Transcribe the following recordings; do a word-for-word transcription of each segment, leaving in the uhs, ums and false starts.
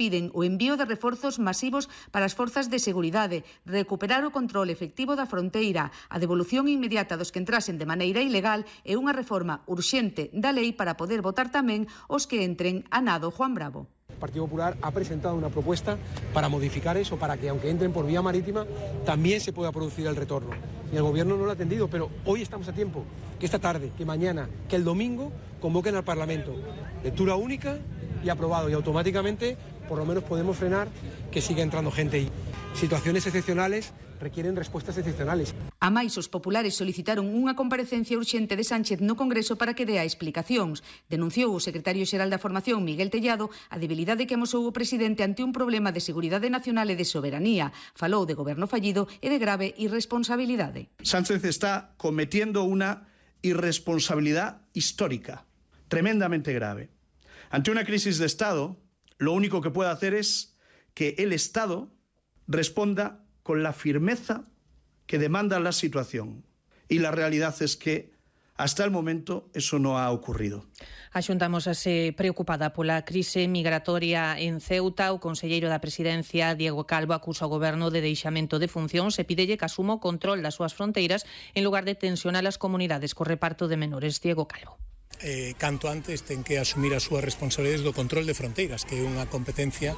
Piden o envío de reforzos masivos para as forzas de seguridade, recuperar o control efectivo da fronteira, a devolución inmediata dos que entrasen de maneira ilegal e unha reforma urxente da lei para poder votar tamén os que entren a nado. Juan Bravo. El Partido Popular ha presentado una propuesta para modificar eso, para que aunque entren por vía marítima, también se pueda producir el retorno. Y el Gobierno no lo ha atendido, pero hoy estamos a tiempo, que esta tarde, que mañana, que el domingo convoquen al Parlamento. Lectura única y aprobado, y automáticamente por lo menos podemos frenar que siga entrando gente. Y situaciones excepcionales requieren respuestas excepcionales. A máis, os populares solicitaron unha comparecencia urxente de Sánchez no Congreso para que dea explicacións. Denunciou o secretario xeral da Formación, Miguel Tellado, a debilidade que amosou o presidente ante un problema de seguridade nacional e de soberanía. Falou de goberno fallido e de grave irresponsabilidade. Sánchez está cometiendo unha irresponsabilidad histórica, tremendamente grave. Ante una crisis de Estado, lo único que puede hacer es que el Estado responda con la firmeza que demanda la situación. Y la realidad es que hasta el momento eso no ha ocurrido. A Xunta amosase preocupada pola crise migratoria en Ceuta. O conselleiro da Presidencia, Diego Calvo, acusa o goberno de deixamento de funcións e pídelle que asuma o control das súas fronteiras en lugar de tensionar as comunidades co reparto de menores. Diego Calvo. Eh, canto antes ten que asumir as súas responsabilidades do control de fronteiras, que é unha competencia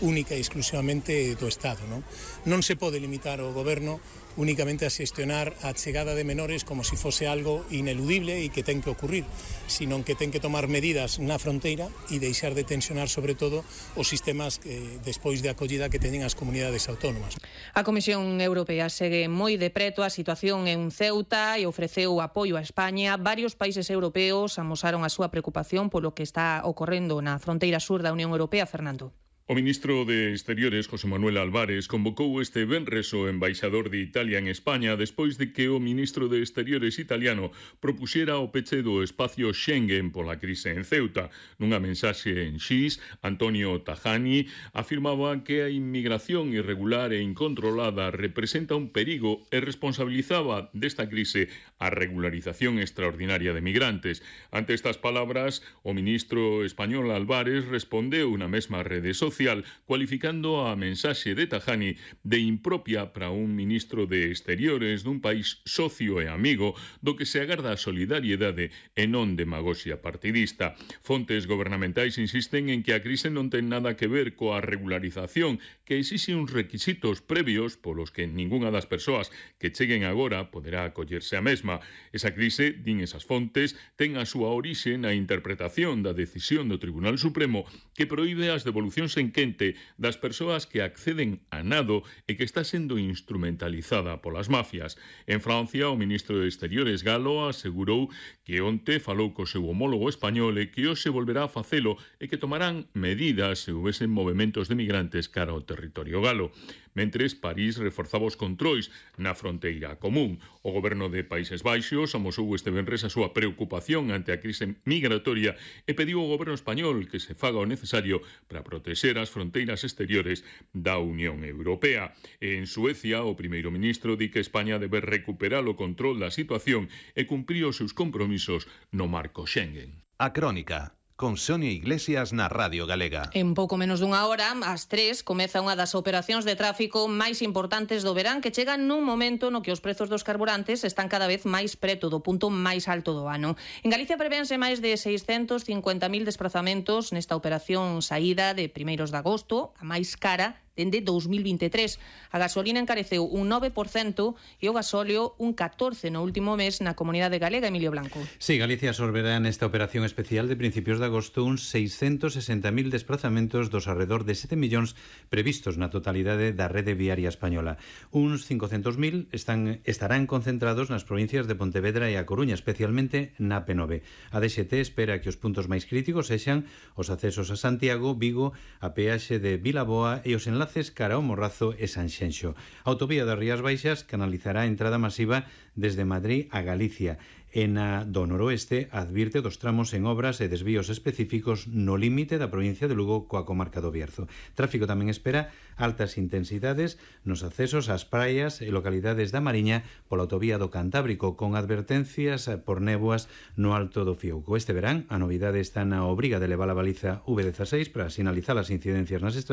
única e exclusivamente do Estado. Non, non se pode limitar o goberno únicamente a xestionar a chegada de menores como se fose algo ineludible e que ten que ocurrir, sino que ten que tomar medidas na fronteira e deixar de tensionar sobre todo os sistemas que, despois de acollida que teñen as comunidades autónomas. A Comisión Europea segue moi de preto a situación en Ceuta e ofreceu apoio a España. Varios países europeos amosaron a súa preocupación polo que está ocorrendo na fronteira sur da Unión Europea. Fernando. O ministro de Exteriores, José Manuel Álvarez, convocou este venres o embaixador de Italia en España despois de que o ministro de Exteriores italiano propuxera o peche do espacio Schengen pola crise en Ceuta. Nunha mensaxe en X, Antonio Tajani afirmaba que a inmigración irregular e incontrolada representa un perigo e responsabilizaba desta crise a regularización extraordinaria de migrantes. Ante estas palabras, o ministro español Álvarez respondeu na mesma rede social cualificando a mensaxe de Tajani de impropia para un ministro de Exteriores dun país socio e amigo do que se agarda a solidariedade e non demagoxia partidista. Fontes gobernamentais insisten en que a crise non ten nada que ver coa regularización, que exixe uns requisitos previos polos que ningunha das persoas que cheguen agora poderá acollerse a mesma. Esa crise, din esas fontes, ten a súa orixe na interpretación da decisión do Tribunal Supremo que proíbe as devolucións en quente das persoas que acceden a nado e que está sendo instrumentalizada polas mafias. En Francia, o ministro de Exteriores Galo asegurou que onte falou co seu homólogo español e que hoxe volverá a facelo e que tomarán medidas se houvesen movementos de migrantes cara ao territorio galo. Mentres, París reforzaba os controis na fronteira común. O goberno de Países Baixos amosou este venres a súa preocupación ante a crise migratoria e pediu ao goberno español que se faga o necesario para proteger as fronteiras exteriores da Unión Europea. En Suecia, o primeiro ministro di que España debe recuperar o control da situación e cumprir os seus compromisos no marco Schengen. A Crónica, con Sonia Iglesias na Radio Galega. En pouco menos dunha hora, ás tres, comeza unha das operacións de tráfico máis importantes do verán, que chegan nun momento no que os prezos dos carburantes están cada vez máis preto do punto máis alto do ano. En Galicia prevénse máis de seiscentos cincuenta mil desplazamentos nesta operación saída de primeiros de agosto, a máis cara dende dous mil vinte e tres. A gasolina encareceu un nove por cento e o gasóleo un catorce por cento no último mes na comunidade galega. Emilio Blanco. Sí, Galicia absorberá nesta operación especial de principios de agosto uns seiscentos sesenta mil desplazamentos dos alrededor de sete millóns previstos na totalidade da rede viaria española. Uns cincocentos mil están, estarán concentrados nas provincias de Pontevedra e A Coruña, especialmente na P nove. A D X T espera que os puntos máis críticos sexan os accesos a Santiago, Vigo, a peaxe de Vilaboa e os enlaces cara ao Morrazo e Sanxenxo. A autovía das Rías Baixas canalizará a entrada masiva desde Madrid a Galicia. En a do noroeste advirte dos tramos en obras e desvíos específicos no límite da provincia de Lugo coa comarca do Bierzo. Tráfico tamén espera altas intensidades nos accesos ás praias e localidades da Mariña pola autovía do Cantábrico, con advertencias por néboas no alto do Fiouco. Este verán, a novidade está na obriga de levar a baliza V dieciséis para sinalizar as incidencias nas estradas